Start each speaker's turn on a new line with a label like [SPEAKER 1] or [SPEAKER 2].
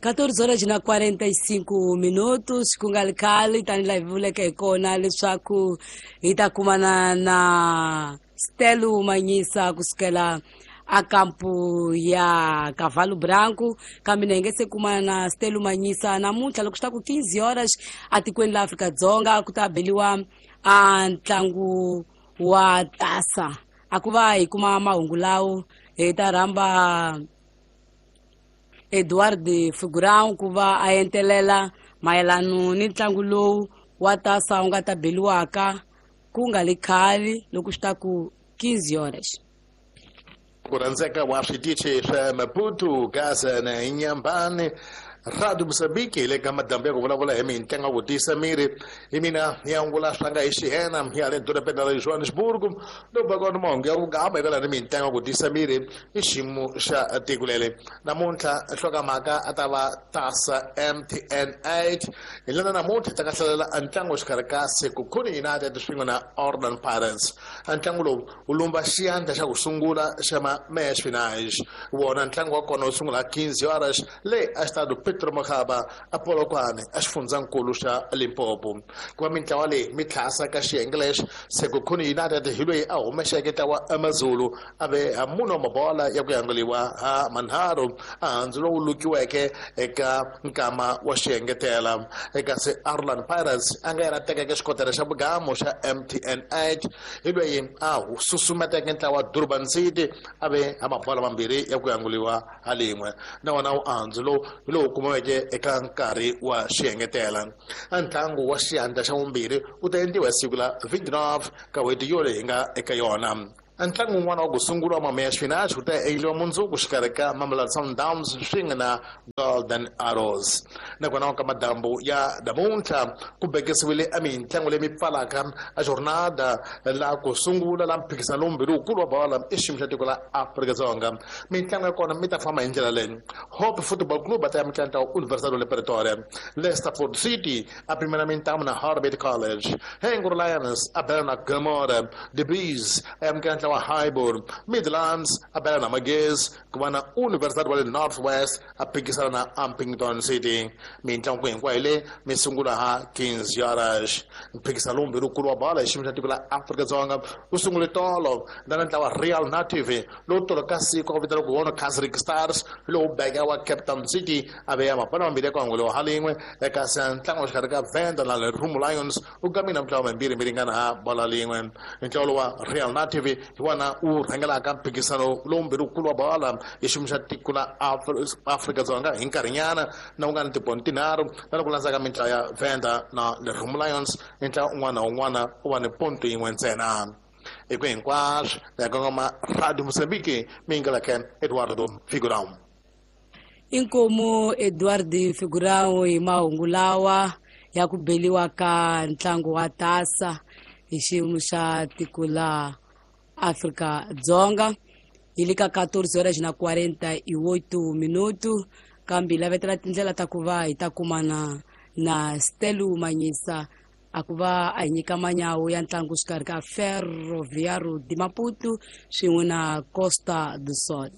[SPEAKER 1] 14 horas na 45 minutos, ku nga ri khale tanihi laha hi vuleke hi kona leswaku hi ta kumana na Stelo Manyisa kusukela a kampu ya Cavalo Branco, kambe na hi nge se kumana na Stelo Manyisa namuntlha loko swi ta ku 15 horas atikweni la Afrika-Dzonga ku ta beliwa a ntlangu wa tasa. A ku va hi kuma mahungu lawo hi ta rhamba Eduard Figurão ku va a entelela mayelano ni ntlangu lowu wa tasa wu nga ta beliwaka ku nga li khale loko swi ta ku 15 horas.
[SPEAKER 2] Ku rhandzeka wa switichi swa Maputo, Gaza na Inhambane, Radio Mozambique hi le ka madambu ya ku vulavula hi mintlangu ku tiyisa miri. Hi mina ya ngula swanga hi xihena ya le dorobeni ra Johannesburg, lowu va kona mahungu ya vungama eka ni mintlangu ku tiyisa miri i xiyimo xa tiko leri. Namuntlha nhlokomhaka a ta va tasa MTN 8. Hi lena namuntlha ta ka hlalela ntlangu exikarhi ka Sekhukhune United swin'we na Orlando Pirates. Ntlangu lowu wu lumba xiyandla xa ku sungula xa ma-match finals. Wona ntlangu wa kona wu sungula 15 horas le a Estado Pedro Mokgaba a Polokwane a xifundzankulu xa Limpopo. Ku va mintlawa leyi mi tlhasa ka xiyenge lexi, Sekhukhune United hi loyi a humexeke ntlawa Amazulu a ve ha mune wa mabola ya ku yanguliwa ha manharhu a handzu lowu lukiweke eka nkama wa xiengetela. Eka se Orlando Pirates a nga yena tekeke xikotela xa vugamo xa MTN 8 hi loyi a susumeteke ntlawa Durban City a ve ha mabola mambirhi ya ku yanguliwa ha lin'we. Na wona wu andzu lowu hi lowu kumiweke eka nkarhi wa xiengetela. Ntlangu wa xiyandla xa vumbirhi wu ta endliwa hi siku la 29 ka n'hweti yoleyi hi nga eka yona. Ntlangu wun'wana wa ku sungula wa ma-match finals wu ta endliwa mundzuku xikarhi ka Mamelodi Sundowns swin'we na Golden Arrows. Nakona ka madambu ya namuntlha ku bekisiwile a mintlangu leyi mi pfalaka a jornada la ku sungula la mphikizano lowumbirhi wukulu wa bola i xiyimo xa tiko la Afrika-Dzonga. Mintlangu ya kona mi ta famba hi ndlela leyi: Hope Football Club a ta ya mitlangu wa Universidade de Pretoria, Leicesterford City a pimela mintamu na Harbert College, Hengro Lions a bela na Gomora, The Bees a ya mitlangu wa Highbury, Midlands a bela na Magezi, ku va na Universidade wa le North West a phikisana na Upington City. Mintlangu hinkwayo leyi mi sungula ha 15 horas. Mphikisano lowumbirhi wukulu wa bola hi xiyimo xa tiko la Afrika-Dzonga wu sungule tolo na ntlawa Real Native lowu tolo ka siku a ku vitaniwa ku wona Casric Stars lowu beka wa Cape Town City a veya mapala mambirhi ya ku hanguliwa ha lin'we. Eka se ntlangu wa xikarhi ka Venda na Lerumo Lions wu gamile mintlawa mambirhi mi ringana ha bola lin'we. Ntlawa lowu wa Real Native hi wona wu rhangelaka mphikisano lowumbirhi wukulu wa bola hi xiyimo xa tiko la Afrika-Dzonga hi nkarhinyana na wu nga ni tipoint tinharhu, na loko landzaka mintlawa ya Venda na Lerumo Lions ntlawa un'wana na un'wana u va ni ponto yin'we ntsena. Hi ku hinkwaswo ya kongoma Radio Mozambique, mi yingeleke Eduardo Figurão.
[SPEAKER 1] Inkomu Eduard Figurão hi mahungu lawa ya ku beliwa ka ntlangu wa tasa hi xiyimo xa tiko la Afrika-Dzonga. Hi le ka 14 horas na 48 minuto, kambe hi lavetela tindlela ta ku va hi ta kumana na Stelo Manyisa a ku va a hi nyika manyawu ya ntlangu xikarhi ka Ferroviário de Maputo swin'we na Costa do Sol.